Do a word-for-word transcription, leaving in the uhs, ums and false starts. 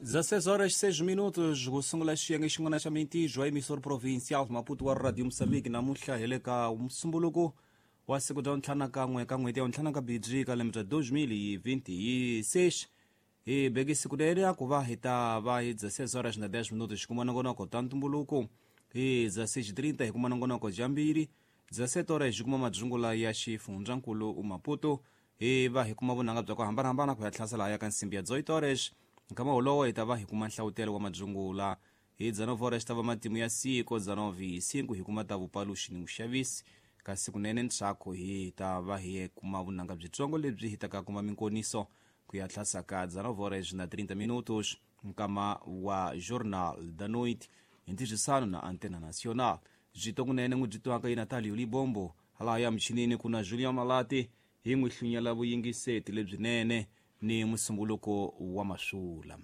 dezesseis horas e seis minutos ku sungula xiyenge xin'wana xa mintirho ya emissor provincial Maputo wa Radio Moçambique namuntlha hi le ka musumbuluko wa siku bya ntlhanu kan'we ka n'hweti ya ntlhanu ka bidzi ka lembe bya dois mil e vinte e seis. Hi beke siku leri ku va hi ta va hi dezesseis horas na dez minutos kuma nongonoko ta ntumbuluko, hi dezesseis e trinta hi kuma nongonoko dyambiri, dezessete horas hi kuma madzungula ya xifundzankulu Maputo, hi va hi kuma vunanga bya ku hambanahambana ku ya tlhasela ya ka nsimbi ya dezoito horas. Nkama wolowo hi ta va hi kuma nhlawutelo wa madzungula, hi dezenove horas ta va matimu ya siku, dezenove e cinco hi kuma ta vupaluxi ni vuxavisi, kasi kunene ntsako hi ta va hi kuma vunanga byitsongo lebyi hi taka kuma minkoniso ku ya tlhasa ka dezenove horas na trinta minutos nkama wa Jornal da Noite hi ntirhisano na Antena Nacional. Byi kunene n'wi byi twaka yi Natalio Libombo hala ya michinini ku na Julian Malati hi n'wi hlunyela vuyingiseti lebyinene ni musumbuluko wa masula.